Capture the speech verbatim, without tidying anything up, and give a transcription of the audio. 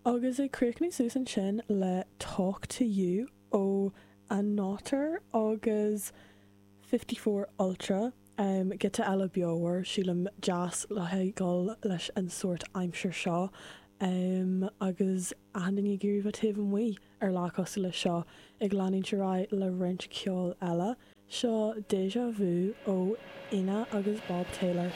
Agus ag críochnú suas ansin le Talk to You ó Anátar agus fifty four Ultra um, giota eile beomhar sílim deas le haghaidh leis an sórt aimsir seo um, agus achan duine ag iarraidh bheith taobh amuigh ar lá cosúil le seo ag leanúint ar aghaidh le roinnt ceoil eile. Seo Deja Vu ó Inna agus Bob Taylor.